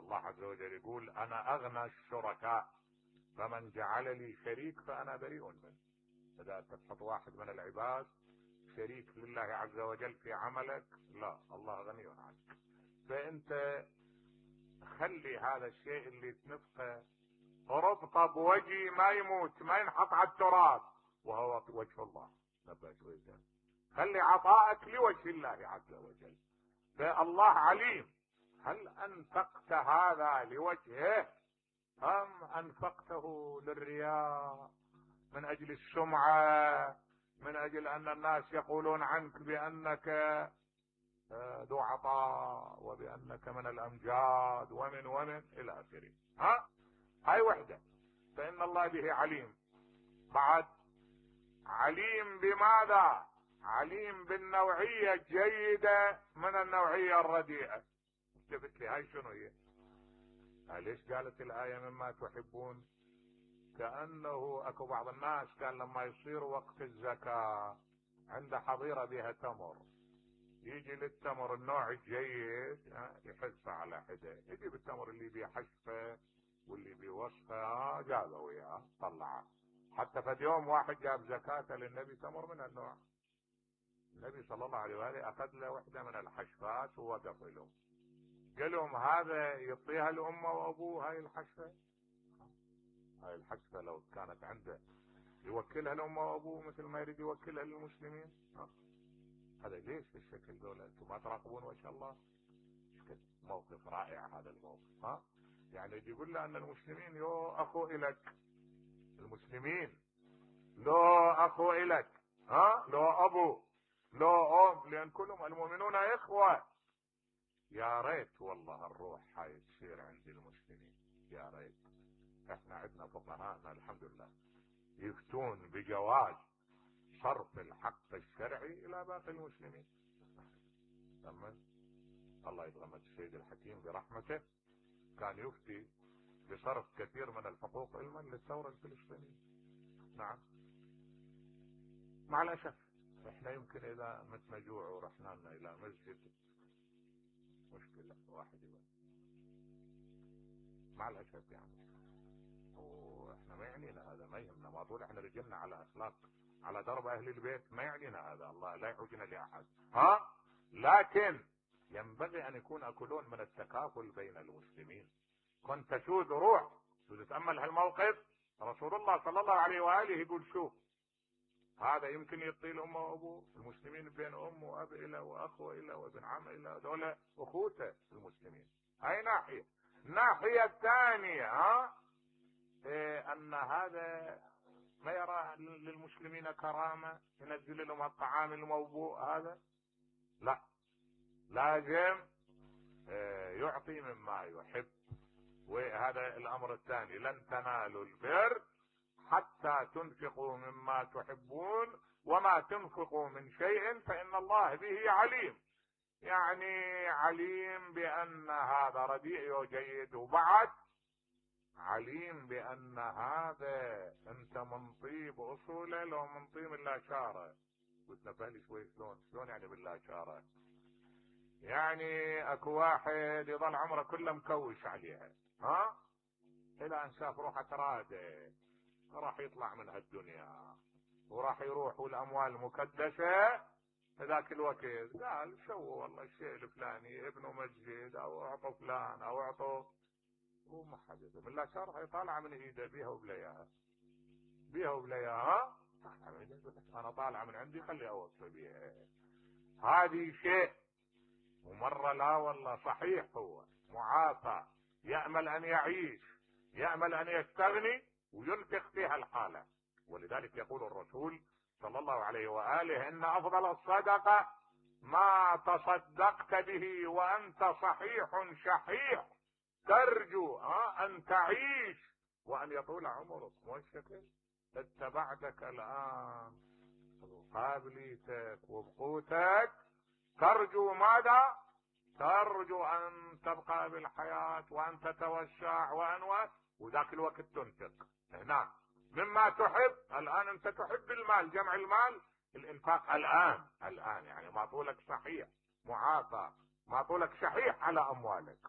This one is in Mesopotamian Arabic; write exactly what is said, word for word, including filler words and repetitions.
الله عز وجل يقول انا اغنى الشركاء فمن جعل لي شريك فانا بريء منه. اذا تحط واحد من العباد شريك لله عز وجل في عملك، لا، الله غني عنك. فانت خلي هذا الشيء اللي تنفقه ربطه بوجهي ما يموت، ما ينحط على التراب، وهو وجه الله. خلي عطائك لوجه الله عز وجل. فالله عليم هل انفقت هذا لوجهه ام انفقته للرياء، من اجل السمعة، من اجل ان الناس يقولون عنك بانك ذو عطاء وبانك من الامجاد ومن ومن الى اخره. ها هاي وحدة. فان الله به عليم. بعد عليم بماذا؟ عليم بالنوعية الجيدة من النوعية الرديئة. قلت لي هاي شنو هي؟ ليش قالت الآية مما تحبون؟ كأنه اكو بعض الناس كان لما يصير وقت الزكاة عنده حظيرة بها تمر، يجي للتمر النوع الجيد يحثه على حده، يجيب التمر اللي بيه حشفه واللي بيه وصفه جابه وياه طلعه. حتى في يوم واحد جاب زكاة للنبي تمر من النوع، النبي صلى الله عليه وآله اخذ له وحده من الحشفات ووقف لهم، قال لهم هذا يعطيها لامه وابوه هاي الحشفه؟ هاي الحشفه لو كانت عنده يوكلها لامه وابوه مثل ما يريد يوكلها للمسلمين؟ هذا ليش بالشكل دولة؟ انتم ما تراقبون وجه الله؟ موقف رائع هذا الموقف. ها يعني يقول له ان المسلمين يو اخو الك، المسلمين لو اخو الك، ها لو ابو لو ام، لان كلهم المؤمنون اخوة. يا ريت والله الروح هاي تصير عند المسلمين، يا ريت. احنا عندنا فقهاءنا الحمد لله يفتون بجواز صرف الحق الشرعي الى باقي المسلمين. تمام. الله يتغمد السيد الحكيم برحمته، كان يفتي بصرف كثير من الحقوق علما للثورة الفلسطينية. نعم. مع الاسف احنا يمكن اذا متنا جوع ورحنا لنا الى مسجد مشكلة واحد يبقى. مع الاسف يعني. واحنا ما يعنينا هذا، ما يهمنا، ما طول احنا رجلنا على اخلاق على درب اهل البيت، ما يعنينا هذا، الله لا يحوجنا لاحد. ها لكن ينبغي ان يكون اكلون من التكافل بين المسلمين. كنت تشوذ روح تتامل هالموقف، رسول الله صلى الله عليه واله يقول شوف هذا يمكن يعطي الامه وابوه، المسلمين بين ام واب الى واخ الى وابن عم الى، دول اخوته المسلمين. هاي ناحيه. الناحيه الثانيه ها إيه ان هذا ما يرى للمسلمين كرامه، ينزل لهم الطعام الموبوء هذا، لا، لازم إيه يعطي مما يحب. وهذا الامر الثاني، لن تنالوا البر حتى تنفقوا مما تحبون وما تنفقوا من شيء فإن الله به عليم. يعني عليم بأن هذا رديء وجيد، وبعد عليم بأن هذا انت من طيب اصوله لو من طيب الله شاره. قلت نفهلي شوي شلون شلون يعني بالله شاره؟ يعني اكو واحد يظل عمره كله مكوش عليها، ها الى ان شاف روحه تراده راح يطلع من هالدنيا وراح يروح والاموال مكدسه. ذاك الوقت قال شو والله الشيء الفلاني ابنه مسجد او اعطوا فلان او اعطوا، وما حد بالله شرح يطالع من ايده بيها وبلياها بيها وبلياها. انا طالع من عندي خلي اوصي بيها. هذه شيء. ومره لا والله صحيح هو معافى يامل ان يعيش، يامل ان يستغني وينفق فيها الحالة. ولذلك يقول الرسول صلى الله عليه وآله ان افضل الصدقة ما تصدقت به وانت صحيح شحيح ترجو ان تعيش وان يطول عمرك. مو الشكل اتبعتك الان بقابليتك وبقوتك ترجو ماذا؟ ترجو ان تبقى بالحياة وان تتوسع وان وذاك الوقت تنفق. هنا مما تحب. الان انت تحب المال، جمع المال، الانفاق الان الان يعني ما طولك صحيح معافى، ما طولك شحيح على اموالك.